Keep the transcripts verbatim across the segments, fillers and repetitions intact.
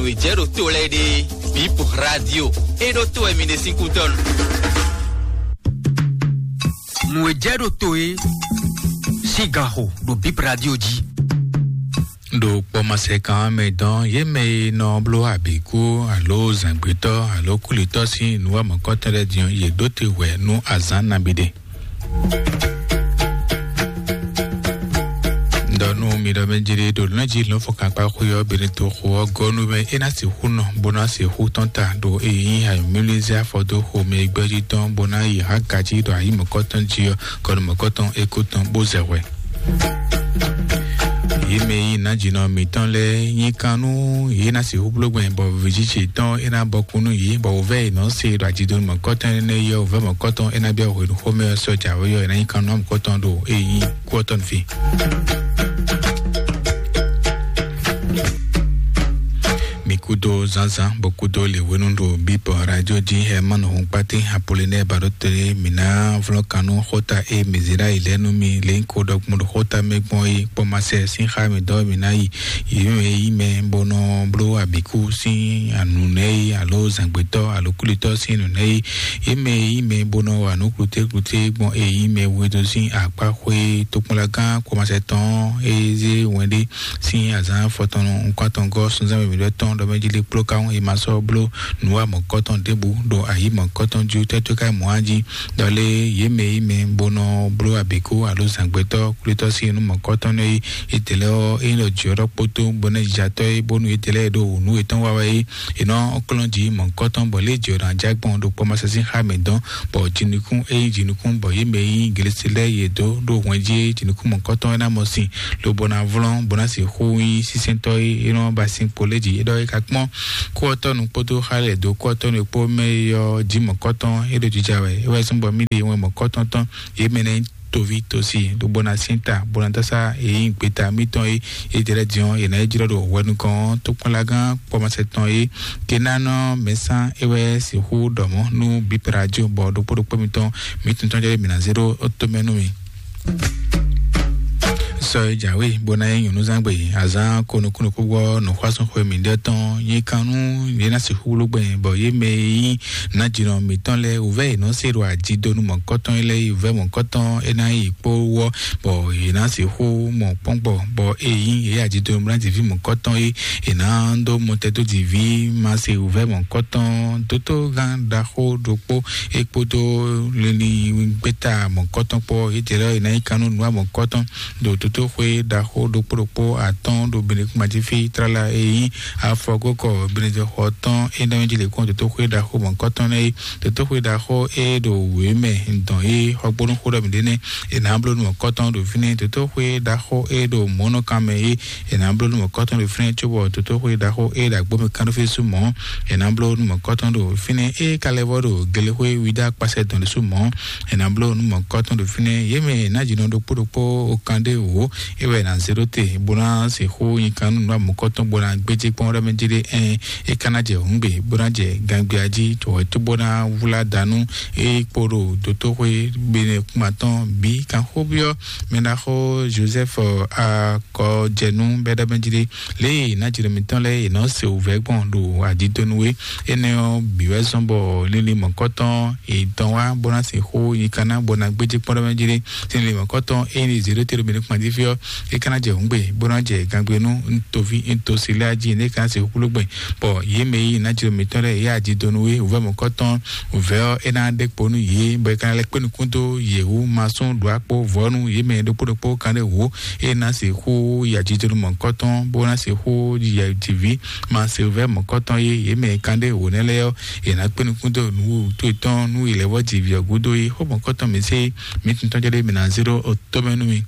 Nǔ e jɛ ɖo to lɛ́ɛ ɖe, Bip Radio, é ɖó to wɛ mi ɖe sín kútɔ́nu. Nǔ e jɛ ɖo to é sín ganxo ɖo Bip Radio jí. Ɖo kpɔmasɛkan mɛ dɔn yě mɛ e nɔ bló abǐkú alo zǎngbetɔ́ alo kúlitɔ́ sín nǔwamɔ̌kɔtɔn lɛ́ɛ din ɔ́, yě ɖó te hwɛ̌ nú azǎn nabí ɖé. Ɖɔ nú mi ɖɔ mɛ jlé ɖo nɔ́ jí lɔ̌nfɔ́n kankpá xwé ɔ́, Benito xo ɔ́ gɔ́ nú mɛ é ná sixú nɔ, bó ná sixú tɔ́n ta ɖo e nyí ayɔ̌mlúnúzɛ afɔdó xomɛ e gbɛ́ jí tɔn, bó ná yi hǎgají ɖo ayǐ mɔ̌kɔtɔn jí ɔ́, kɔnu mɔ̌kɔtɔn é kú tɔn bó zɛ hwɛ. Yě mɛ e nyí nǎjínɔ mǐtɔn lɛ́ɛ nyí kan nú yě ná sixú bló gbɛn, bɔ vǐjiji tɔn é ná bɔkun nú yě, bɔ wǔvɛ́ e nɔ se ɖo ajidonu mɔ̌kɔtɔn énɛ́ yi ɔ́, wǔvɛ́ mɔ̌kɔtɔn é ná byɔ́ hwenu xomɛ ɔ́ sɔ́ jǎwe ɔ́, é ná nyí kan nú mɔ̌kɔtɔn ɖo e nyí kú ɔ́ tɔn fí. Mi kúdó zǎnzǎn, bó kúdó lěwénú ɖo Bíbɔ Radio jí. Hɛmanu Hunkpatí Apolinɛ́ɛ Baɖótele, mǐ ná vlɔ́n kan nú xóta e mǐ zě ɖ'ayǐ lɛ́ɛ nú mi lě nyí ko ɖɔkun ɖo xóta mɛ gbɔn é kpɔ́ ma sɛ sín xá mǐ dɔ́ mǐ ná yi. Yě mɛ e nyí mɛ bó nɔ bló abǐkú sín nǔnɛ́ é, alo zǎngbetɔ́ alo kúlitɔ́ sín nǔnɛ́ é, yě mɛ e nyí mɛ bó nɔ wa nǔ kplutékpluté gbɔn e nyí mɛ we dó sín akpá xwé tokpɔnlagán kpɔ́ ma sɛ tɔn é zé wɛn ɖé sín azǎn afɔtɔn nukún-atɔngɔ́ sunzán mǐmí ɖɔ tɔn ɖɔ mɛ jí lé kpló káwọn è ma sɔ́ bló nǔwa mɔ̌kɔtɔn ɖěbǔ ɖo ayǐ mɔ̌kɔtɔn jí tɛ́tɔ́ ká mɔ̌ á jí. Ɖɔ lé yě mɛ yí mɛ bó nɔ bló abǐkú alo zǎngbɛ́tɔ́ kwlítɔ́ sín nú mɔ̌kɔtɔn nɛ́ é, yětɛ́ lɛ́ɛ ɔ́, é nyí ɖɔ jǐ ɔ́ ɖɔ kpótó bó ná yi jɛ atɔ́ é, bónú yětɛ́ lɛ́ɛ ɖo wǔ nú yětɔn wa wɛ é, è nɔ kplɔ́n jǐ mɔ̌kɔtɔn bɔ lě jǐ ɔ́ ná já gbɔn ɖo kpɔ́ ma sɛ sín xá mɛ dɔn, bɔ jinukún é nyí jinukún bɔ yě mɛ e nyí Glesi lɛ́ɛ yě dó ɖo hwɛn jí é, jinukún mɔ̌kɔtɔn é ná mɔ sin, lobo ná vlɔ́n, bó ná sixú nyí sísɛ́ntɔ́ e é nɔ ba sin kpo lɛ́ɛ jí. É ɖɔ é ka kpɔ́n kúɔtɔ́nu kpódó xá lɛ́ɛ dó kúɔtɔ́nu e kpó mɛ é ɔ́ jí mɔ̌kɔtɔn é ɖo jija wɛ. É wɛ zɔ́n bɔ mì ɖe wɛn mɔ̌kɔtɔn tɔn, yě mɛ nɛ́ toví tosi, lobo ná sín ta, bó ná dó sá é nyí gbeta mítɔn é, é jɛ lɛ́ɛ din ɔ́, yě ná yi jlɔ́ ɖo hwɛ nukɔn ɔ́, tókpɔ́nlágán kpɔ́mɔsɛtɔn é, Kenanɔ mɛsán é wɛ sixú ɖɔ mɔ̌ nú Bip Radio bɔ ɖokpó ɖokpó mitɔn, mǐ tuntun jɛ mǐ ná zé ɖó tomɛ nú mi. Sɔ e jǎwe bó ná nyí nyɔ̌núzangbe azán ko nukúnnukúngbɔ nǔxwásúnxwe mǐɖée tɔn nyí kan nú yě ná sixú wlú gbɛn, bɔ yě mɛ e nyí nǎjínɔ mǐtɔn lɛ́ɛ wǔvɛ́ yě nɔ se ɖo ajidonu mɔ̌kɔtɔn lɛ́ɛ yi wǔvɛ́ mɔ̌kɔtɔn é ná yi kpó wɔ, bɔ yě ná sixú mɔ kpɔ́ngbɔ, bɔ é nyí yě ajidonu mlá jǐví mɔ̌kɔtɔn é, è nǎ dó mɔtɛdójǐví ma se wǔvɛ́ mɔ̌kɔtɔn dótógán ɖaxó ɖokpó é kpódó linlin gbéta mɔ̌kɔtɔn kpó yětɛ́ lɛ́ɛ è nǎ nyí kan nú nǔwa mɔ̌kɔtɔn ɖo dótóxwé ɖaxó ɖokpó ɖokpó atɔ́ɔ́n ɖo Benekúmajífí tlala e nyí afɔgókɔ Benedexɔ tɔn é ná jí lě kɔn dótóxwé ɖaxó mɔ̌kɔtɔn nɛ́ é. Dótóxwé ɖaxó é ɖo wě mɛ dɔn é xɔgbónú xó ɖɔ mǐ ɖé nɛ́ è nǎ bló nú mɔ̌kɔtɔn ɖo fínɛ́. Dótóxwé ɖaxó é ɖo mɔ̌nɔkan mɛ é è nǎ bló nú mɔ̌kɔtɔn ɖo fínɛ́, cóbɔ dótóxwé ɖaxó é ɖo agbómi kánɖófésú mɔ̌ è nǎ bló nú mɔ̌kɔtɔn ɖo fínɛ́. É ka lɛ́ vɔ ɖo gelexwé wíɖá kpasɛ dɔn ɖésú mɔ̌ è nǎ bló nú mɔ̌kɔtɔn ɖo fínɛ́. Yě mɛ è nǎ jǐnɔ ɖokpó ɖokpó okan ɖé wǒ é wɛ è nǎ zé ɖó te, bó ná sixú nyi kan nú nǔ amɔ̌kɔtɔn bó ná gbéjé kpɔ́n ɖɔ mɛ jí ɖé. Ɛn, é ka ná jɛ hǔngbe, bó ná jɛ gangbia jí, cɔwɛ tó bó ná wlá danú é kpo ɖo dótóxwé gbénɛkúmatɔn bǐ kanxóbyɔ́ mɛɖaxó Joseph Akɔjɛnú bɛ́ ɖɔ mɛ jí ɖé. Lě e nǎjínɔ mǐtɔn lɛ́ɛ è nɔ se wǔvɛ́ gbɔn ɖo adidonu é, énɛ́ ɔ́ bǐ wɛ zɔ́n bɔ linlin mɔ̌kɔtɔn è dɔn wá bó ná sixú nyi kan ná bó ná gbéjé kpɔ́n ɖɔ mɛ jí ɖé. Sín linlin mɔ̌kɔtɔn é ní zě ɖó te ɖo mǐ nukún jí fí ɔ́, é ka ná jɛ hǔngbe, bó ná jɛ gangbenu, un toví un tosi lɛ́ɛ jí, é ka ná sixú kpló gbɛn, bɔ yě mɛ e nyí nǎjínɔ mǐtɔn lɛ́ɛ é adidonu é wǔvɛ́ mɔ̌kɔtɔn wǔvɛ́ ɔ́, é ná ɖe kpo nú yě, bɔ é ka ná lɛ́ kpé nukún dó yě wú masún ɖó akpó vɔ̌nu yě mɛ ɖokpó ɖokpó kan ɖé wǒ, é ná sixú yi ajijɔnú mɔ̌kɔtɔn, bó ná sixú yi jǐví ma se vɛ́ mɔ̌kɔtɔn yé, yě mɛ kan ɖé wǒ nɛ́ lɛ́ɛ ɔ́, yě ná kpé nukún dó nǔ wútu yětɔn nú yě lɛ́ vɔ jǐví ɔ́ gúdo é. Xó mɔ̌kɔtɔn mǐ se mǐ tuntɔn jɛ ɖé mǐ ná zé ɖó tɔ́mɛ nú mi.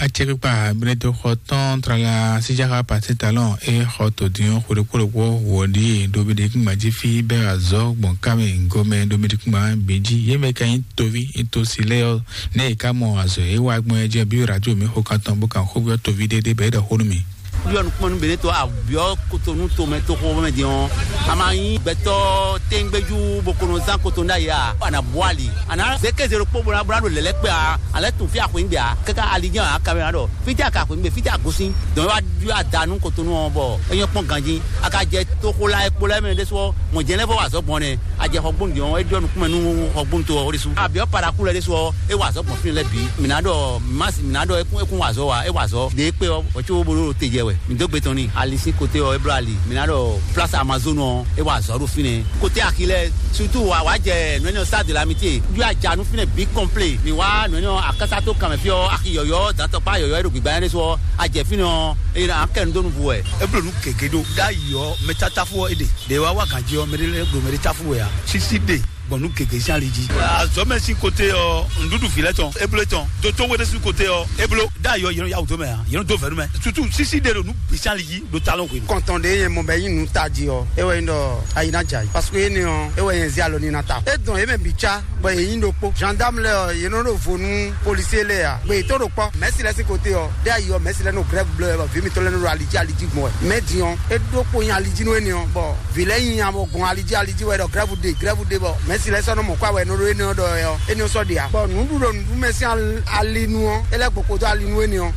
Acɛkpikpa Benedexɔ tɔn tlala síjáxa Pasitalɔn e xɔ tòdín ɔ́ xwedó kpóɖokpó wɔ ɖíe ɖo Benedexɔ jí fí bɛ́ azɔ̌ gbɔn kámɛ gɔmɛ ɖo Benedexɔ bǐ jí. Yě mɛ ka nyí toví tosi lɛ́ɛ ɔ́, nɛ́ è ká mɔ azɔ̌ e wa gbɔn é jɛ bí radio mi xo kan tɔn bó kan xó byɔ́ toví ɖéɖé bɔ é ɖɔ xó nú mi. Yɔ nukpɔn nú Benito abiɔ Kotonu tomɛ toxo mɛ din ɔ́, a ma nyí gbɛtɔ́ tɛngbɛjú bó kono zán Kotonu ɖ'ayǐ a? A nǎ bú ali, a nǎ zé kéze ɖokpó bó ná bó ná ɖo lɛ̌lɛ́ kpé a? A lɛ́ tun fí axwǐngbè a? Káká ali jɛ́n a kamɛ ɖɔ fítɛ́ a ka axwǐngbè, fítɛ́ a gosín. Dɔn é wá ɖyɔ́ ada nú Kotonu ɔ́, bɔ é nyɔ́ kpɔ́n ganjí. A ka jɛ toxo la e kpo lɛ́ɛ mɛ ɖésú ɔ́, mɔ̌ jɛ́n lɛ́ vɔ wa azɔ̌ gbɔn nɛ́. A jɛ xɔgbónu din ɔ́, é ɖɔ nukúnmɛ nú xɔgbónu to ɔ́ ɖésú. Abiɔ Paraku lɛ́ɛ ɖésú ɔ́, é wa azɔ̌ gbɔn fínɛ́ lɛ́ɛ bǐ. Mǐ ná ɖɔ Masi, mǐ ná ɖɔ é kún é kún wa azɔ̌ wa, é wa azɔ̌. Ɖě é kpé ɔ́, hwɛ̌ có bó ɖo te jɛ wɛ. Mǐ dó gbe tɔn n'i. Ali sín kote ɔ́, é bló ali. Mǐ ná ɖɔ Place Amazone ɔ́, é wa azɔ̌ ɖo fínɛ́. Kote axi lɛ́ɛ, surtout wa wá jɛ nǔ énɛ́ Stade de l'Amitié. Jú aja nú fínɛ́ bǐ kɔnplé. Mǐ wá nǔ énɛ́ akásá tó kanmɛ fí ɔ́, axi yɔ̌yɔ́, dantɔkpá yɔ̌yɔ́ é ɖo gbǐgbá nyanya ɖésú ɔ́, a jɛ fínɛ́ ɔ́, é ná kɛ nǔ dó nǔ vú wɛ. É bló nǔ gěgé ɖó. Ɖ'ayǐ ɔ́, mɛ tátáfú ɔ́ é ɖe. Ɖě wá wá ganjí ɔ́, mɛ ɖé lɛ́ɛ ɖo mɛ ɖé táfú wɛ ǎ. Sísí ɖe gbɔn nǔ gěgé sín ali jí. Azɔ̌mɛ sín kote ɔ́, nǔɖuɖu vǐ lɛ́ɛ tɔn, é bló tɔn. Dotó we ɖésú kote ɔ́, é bló. Ɖ'ayǐ ɔ́, yě nɔ yá wǔ dó mɛ ǎ. Yě nɔ dó vɛ̌ nú mɛ. Sutu sísí ɖe ɖo nǔ bǐ sín ali jí ɖo talɔn hwenu. Kɔntɔn ɖě nyɛ mɔ bɔ é nyí nǔ tají ɔ́, é wɛ nyí ɖɔ ayi ná jɛ ayǐ. Parce que énɛ́ ɔ́, é wɛ nyɛ zé alɔ n'i ná ta. É dɔn yě mɛ bǐ cá, bɔ yě nyí ɖokpó. Gendarme lɛ́ɛ ɔ́, yě nɔ ɖo vo nú policier lɛ́ɛ ǎ. Gbe yětɔn ɖo kpɔ́. Mɛ̌si lɛ́ɛ sín kote ɔ́, ɖé ayi ɔ́, mɛ̌si lɛ́ɛ nɔ grève bló wɛ, bɔ vǐ mǐtɔn lɛ́ɛ nɔ ɖo ali jí ali jí gbɔn wɛ. Mɛ din ɔ́, é ɖó kpo nyi ali jí nú énɛ́ ɔ́, bɔ vǐ lɛ́ɛ nyi nya bɔ gbɔn ali jí ali jí wɛ ɖɔ grève ɖe, grève ɖe, bɔ mɛ̌si lɛ́ɛ sɔ́ nɔ mɔ kó awɛ nɔ ɖó énɛ́ ɔ́ ɖɔ wɛ ɔ́, énɛ́ ɔ́ sɔ́ ɖe ǎ. Bɔ nǔɖuɖu nǔɖumɛ sín al-, ali nu ɔ́, é lɛ́ gboko dó ali nú énɛ́ ɔ́.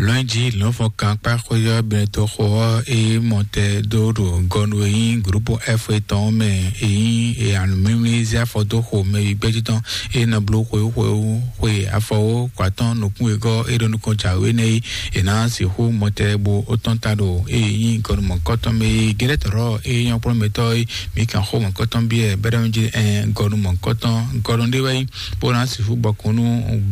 Lɔ̌nyijǐ lɔ̌nfɔ́n kan kpá xwé ɔ́ bɛ́ dó xo ɔ́, é mɔ tɛ dó ɖo gɔnu e nyí gǔrúpu F etɔn ɔ́ mɛ, e nyí e anǔmímlí zé afɔ dó xo mɛ e gbɛ́jí tɔn, e nɔ bló xwewú xwewú xwe afɔwó kɔ atɔ́n nukún wegɔ́ e ɖo nukɔn jǎwe nɛ́ é. È nǎ sixú mɔ tɛ bó ó tɔ́n ta ɖo e nyí gɔnu mɔ̌kɔtɔn mɛ e gɛ́dɛ́tɔ́rɔ́ e nyɔ́ kplɔ́nmɛtɔ́ é. Mǐ kan xó mɔ̌kɔtɔn byɔ́ ɛ bɛ́ ɖɔ mɛ jí ɛ gɔnu mɔ̌kɔtɔn gɔnu ɖé wɛ nyí. Bó ná sixú gbɔkun nú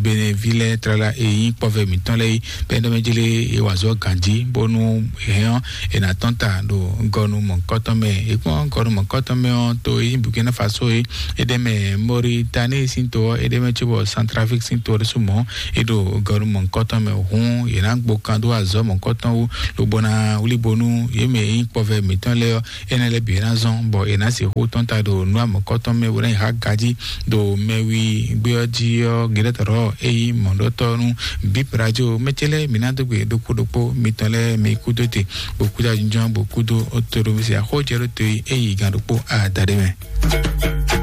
Beneví lɛ́ɛ tlala e nyí kpɔ́vɛ mǐtɔn lɛ́ɛ é, bɛ́ ɖɔ mɛ jí lé e wa azɔ̌ ganjí, bónú è hɛn ɔ́, è nǎ tɔ́n ta ɖo gɔnu mɔ̌kɔtɔn mɛ. È kpɔ́n gɔnu mɔ̌kɔtɔn mɛ ɔ́, to e nyí Burkina Faso é, é ɖ'é mɛ Mauritanie sín to ɔ́, é ɖ'é mɛ cóbɔ Centrafrique sín to ɔ́ ɖésú mɔ̌, é ɖo gɔnu mɔ̌kɔtɔn mɛ hǔn, yě ná gbo kan dó azɔ̌ mɔ̌kɔtɔn wú, lobo ná wlí bónú yě mɛ e nyí kpɔ́vɛ mǐtɔn lɛ́ɛ ɔ́, énɛ́ lɛ́ɛ bǐ ná zɔ́n, bɔ è nǎ sixú tɔ́n ta ɖo nǔ amɔ̌kɔ́tɔn mɛ bó ná yi xá gají ɖo mɛwi gbé ɔ́ jí ɔ́, Gɛ́dɛ́tɔ́ é nyí mɔ̌ɖɔtɔ́ nú Bip Radio. Mɛ ce lɛ́ɛ, mǐ ná dó gbe ɖokpó ɖokpó mitɔn lɛ́ɛ, mi kúdó te, bó kúdó ajínjɔ́n, bó kúdó tóɖómísí axɔ́jɛ́ɖótó e é yi gán ɖokpó adaɖé mɛ.